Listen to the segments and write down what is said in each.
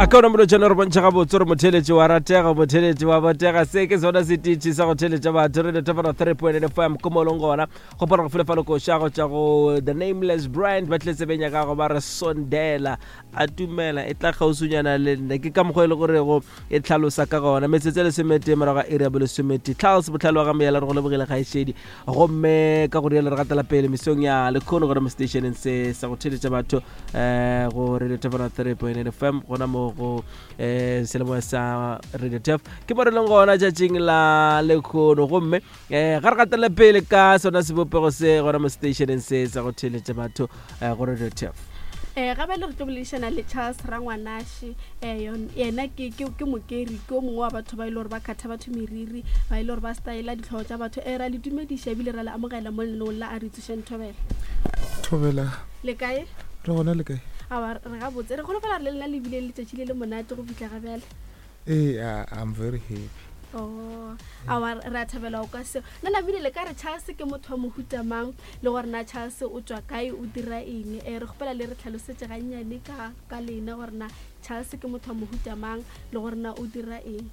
A ka ona molotšana re bontšha gabotse gore motheletši wa ratega, motheletši wa botega. Se ke sona setiši sa go theletša batho. Radio Tafara 3.8 FM ko mo leng gona. Gopola go file fa lokoša go tšwa go The Nameless Brand ba tlile tsebeng ya gago ba re sondela a tumela e tla kgauswinyana le nna. Ke ka mokgwa e le gorego e tlhalosa ka gona. Metsotso e lesometee morago ga iri ya bolesomete. Charles Bohlale wa ga Moyala re go lebogile kgaetšedi. Gomme ka go rialo re gatela pele mesong ya lekhono gona mo stationeng se sa go theletša batho um go Radio Tafara 3.8 FM gona mo go um selemoya sa Radio Taf ke mo re leng gona tšatšing la lekhono. Gomme um ga re gatele pele ka sona sebopego se gona mo stationeng se sa go theletša batho um go Radio Taf. Um ga bjale re tlo boledišana le Charles Rangwanaše. Um yena ke, ke, ke mokeri, ke o mongwe wa batho ba e le gore ba kgatha batho meriri, ba e le gore ba styla ditlhogo tša batho. Um ra le dumediša ebile ra le amogela mo lenaneong la A Re Tsošeng Thobela. Thobela. Le kae? Re gona le kae? Aowa, re gabotse. Re kgolofela gore le lena le bile le letšatši le le monate go fihla ga bjale. Ee, I'm very happy. Oh, aowa, re a thabela go kwa seo. Nna namile le ka re Charles ke motho wa mohuta mang, le gore na Charles o tšwa kae, o dira eng. Re kgopela le re tlhalosetše gannyane ka, ka lena gore na Charles ke motho wa mohuta mang, le gore na o dira eng.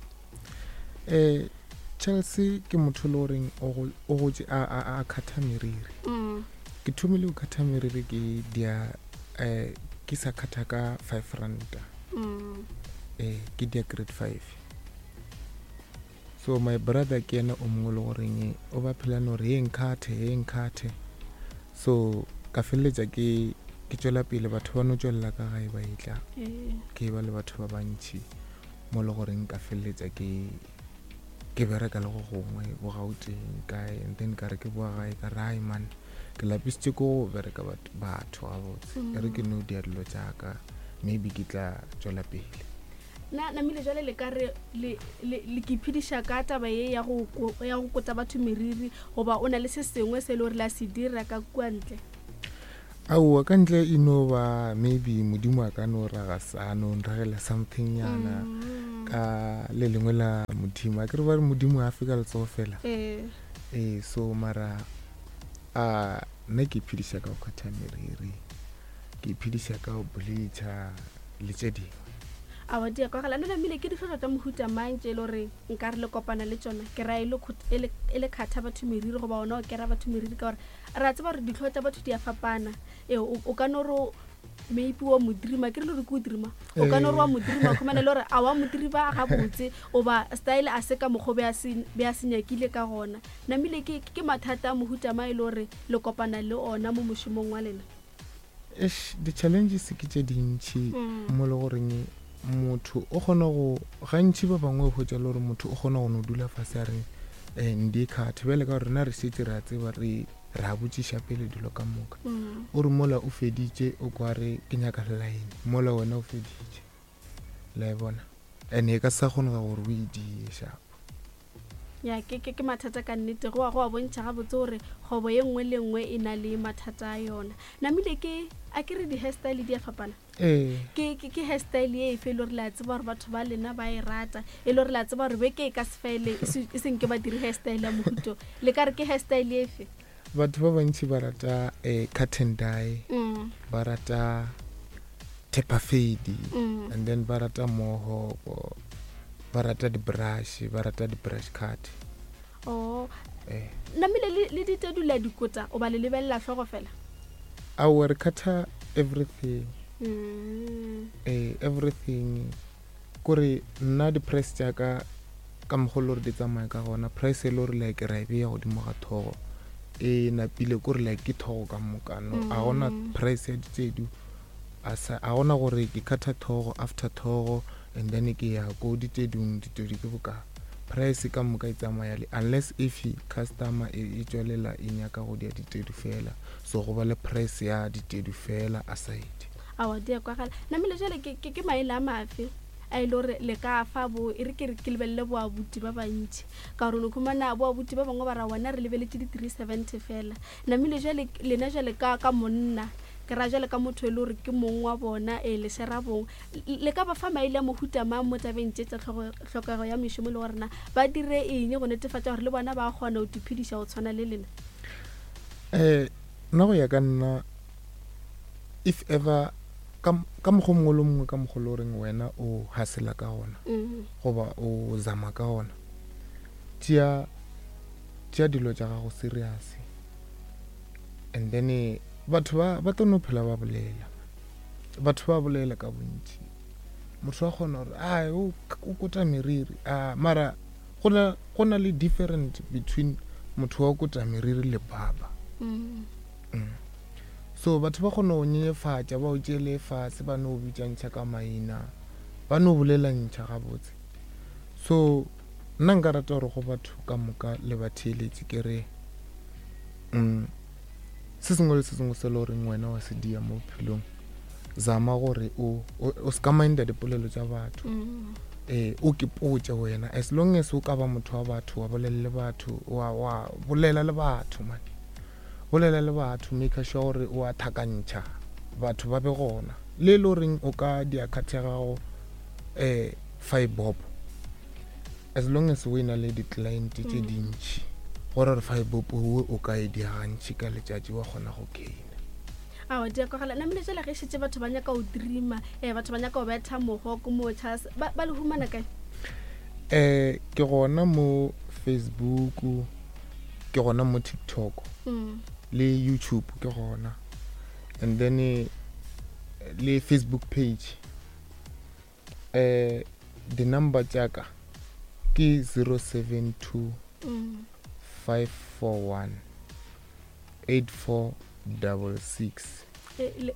Charles ke motho e le goreng o gotše a, a, a kgatha meriri. Ke thomile go kgatha meriri ke dia, ke sa kgatha ka 5 ranta. Ke dia grade 5. So my brother ke yena o mongwe le goreng o ba phela no re ye nkhathe, ye nkhathe. So ka feleletša ke ke tšwela pele, batho ba no tšwelela ka gae ba etla. Ke ba le batho ba bantši mo le goreng ka feleletša ke ke bereka le go gongwe bo Gauteng kae, and then ka re ke boa gae ka re ai man, ke lapisitše ko go bereka batho gabotse. E re ke no dia dilo tša ka, maybe ke tla tšwela pele. Na namile jwale le ka re le, le, le ke iphediša ka taba ye ya go, ya go kota batho meriri, goba o na le se sengwe se e le gore la se dira ka kua ntle? Aowa, ka ntle e no ba maybe Modimo a ka no raga sa no nragela something nyana ka le lengwe la Modimo. A ke re ba re Modimo a fe ka letsogo fela. Ee, so mara a nna ke iphediša ka go kgatha meriri, ke iphediša ka go bleacha le tše dingwe. Aowa, di a kwagala. Nna namile ke dihlotlo tša mohuta mang tše e le gore nka re le kopana le tšona? Ke ra e le, e le, e le kgatha batho meriri goba ona o kera batho meriri, ka gore re a tseba gore dihloo tša batho di a fapana. Ee, o ka no re maybe wa mo dreama, ke re le gore ke o dreama, o ka no re wa mo dreama, khumana le gore a wa mo dreama gabotse, goba style a se ka mokgwa be a se, be a se nyakile ka gona. Namile ke, ke mathata a mohuta mang e le gore le kopana le ona mo mošomong wa lena? Eish, di-challenges ke tše dintši mo le goreng motho o kgona go, gantši ba bangwe o hwetša le gore motho o kgona go no dula fase a re ndi khathe. Bjale ka gore rena re šetše re a tseba, re re a botšiša pele dilo ka moka. O re mola o feditše o kwa re ke nyaka line, mola wena o feditše, la e bona, and e ka sa kgonega gore o e die sharp. Ya, ke, ke, ke mathata ka nnete. Go a, go a bontšha gabotse gore kgwebo ye nngwe le nngwe e na le mathata a yona. Namile ke, a ke re di-hairstyle di a fapana? Ee. Ke, ke, ke hairstyle ye efe e le gore le a tseba gore batho ba lena ba e rata, e le gore le a tseba gore beke e ka se fele e se, e se nke ba dire hairstyle ya mohuto? Le ka re ke hairstyle efe? Batho ba bantši ba rata cut and dye, ba rata taper fade, and then ba rata mohawk, ba rata di-brush, ba rata di-brush cut. Oh. Namile le, le ditedu le a di kota, o ba le lebelela hlogo fela? Aowa, re cutter everything. Everything. Kore nna di-price tša ka ka mokgwa le gore di tsamaya ka gona, price e le gore like ra e beya godimo ga thogo e napile, kore like ke thogo ka moka. No, a gona price ya ditedu, a sa, a gona gore ke cutter thogo after thogo and then ke ya ko ditedung, ditedu ke boka. Price ka moka e tsamaya le, unless if customer e tšwelela e nyaka go dia ditedu fela, so go ba le price ya ditedu fela aside. Aowa, di a kwagala. Namile jale ke, ke, ke maele a mafe a e le gore le ka fa bo, e re ke re ke lebelele boabuti ba bantši, ka gore no khumana boabuti ba bangwe ba ra wena re lebeletše di 370 fela. Namile jale lena jale ka, ka monna, ke ra jale ka motho e le gore ke mong wa bona, ee, le shera bong, le ka ba fa maele a mohuta mang mo tabeng tše tša hlokego ya mešomo, le gore na ba dire eng go netefatša gore le bona ba kgona go iphediša go tshwana le lena? Nna go ya ka nna, if ever. Ka mokgwa mongwe le mongwe ka mokgwa le goreng wena o hasela ka gona goba o zama ka gona, tšea tšea dilo tša gago serious, and then batho ba ba tlo no phela ba bolela. Batho ba bolela ka bontši. Motho wa kgona gore a o kota meriri, a mara go na le different between motho wa kota meriri le baba. So batho ba kgona go nyenyefatša, ba o tšeele fase, ba no bitšantšha ka maina, ba no bolelantšha gabotse. So nna nka rata gore go batho ka moka le batheeletši ke re, se sengwe le se sengwe se le goreng wena wa se dia mo bophelong, zama gore o se ka minda dipolelo tša batho. O ke potše wena, as long as o ka ba motho wa batho, wa bolela le batho, wa bolela le batho, man. Bolela le batho, make sure gore o a thakantšha batho ba be gona. Le le goreng o ka dia card ya gago 5 bob, as long as o e na le di-client tše dintši, gore re 5 bob o ka e dia gantši ka letšatši, wa kgona go gaina. Aowa, di a kwagala. Namile jale ge šetše batho ba nyaka go dreama, batho ba nyaka go betha mogo ko mo Charles, ba le humana kae? Ke gona mo Facebook, ke gona mo TikTok, le YouTube ke gona, and then le Facebook page. Di number tša ka ke 072 541 8466.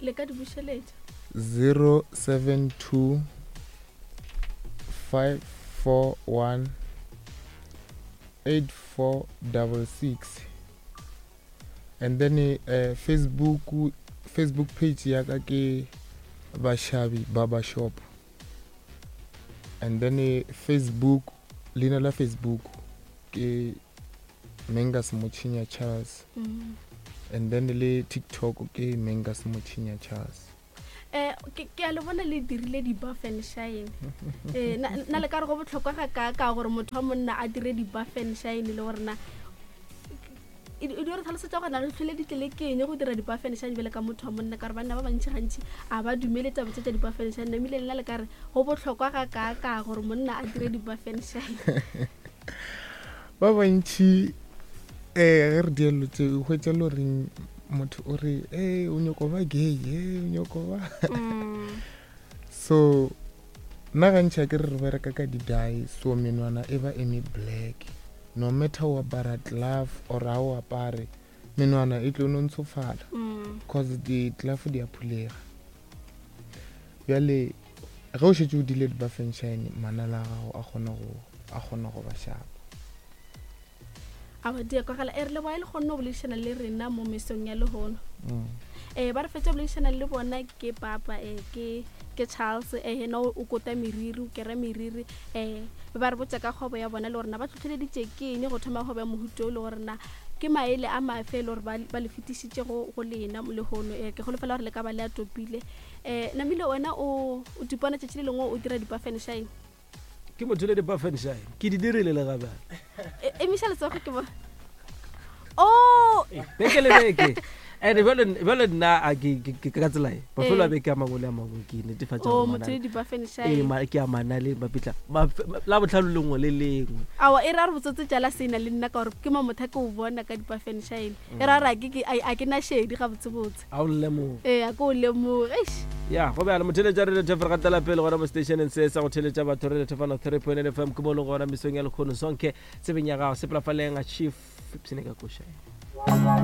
Le ka di bušeletša? 072 541 8466. And then Facebook page ya ka ke Bashabi Barber Shop. And then Facebook, leina la Facebook ke Mengas Mochinya Charles. And then le TikTok ke Mengas Mochinya Charles. Ke a le bona le dirile di-buff and shine. Na le ka re go bohlokwa ga ka ka gore motho wa monna a dire di-buff and shine, le gore na e di re tlhalosetsa gore na re tlhole di tlele ke eng go dira di-buff and shine bjale ka motho wa monna, ka gore banna ba bantši gantši a ba dumele taba tse tša di-buff and shine. Namile lena le ka re go bohlokwa ga ka ka gore monna a dire di-buff and shine? Ba bantši ge re dielo tse o hwetša le goreng motho o re e o nyoko ba gay, e o nyoko ba. So nna gantši a ke re re bereka ka di-dye, so menwana e ba eme black, no matter o apara glove or ha o apare, menwana e tlo no ntshofala, cause di-glove di a phulega. Bjale ge o šetše o dile di-buff and shine, manala a gago a kgona go ba sharp. Aowa, di a kwagala. E re leboga e le kgonne go boledišana le rena mo mesong ya lehono. Ba re fetša boledišana le bona ke papa, ke Charles, yena o kota meriri, o kera meriri. Ba re botša ka kgwebo ya bona le gore na ba tlhotlheleditše ke eng go thoma kgwebo ya mohuto o, le gore na ke maele a mafe e le gore ba le fetišitše go lena lehono. Ke holofela gore le ka ba le a topile. Namile wena o tipona tšatši le lengwe o dira di-buff and shine? Ke motho le di-buff and shine, ke di dirile le gabjale. Emiša letsogo ke bona. Oh! Beke le beke. And bjale nna a ke ka tsela e. Mafelo a beke a mangwe le a mangwe ke netefatša Oh, gore motho le di-buff and shine. Ke a manale mapitla. La botlhano lengwe le lengwe. Aowa, e ra re botsotse tšala sena le nna ka gore ke mo motho a ke o bona ka di-buff and shine. E ra re a ke na šedi gabotsebotse. A o lemoge. Ee, a ke o lemoge. Eish. Ya, go bjalo, motheletša Radio Thefo, re gatela pele gona mo stationeng se sa go theletša batho, Radio Thefo 103.8 FM, ke mo leng gona mesong ya lekgono. Sonke, tsebeng ya gago, sepela faleng, Chief, ipshine ka koša.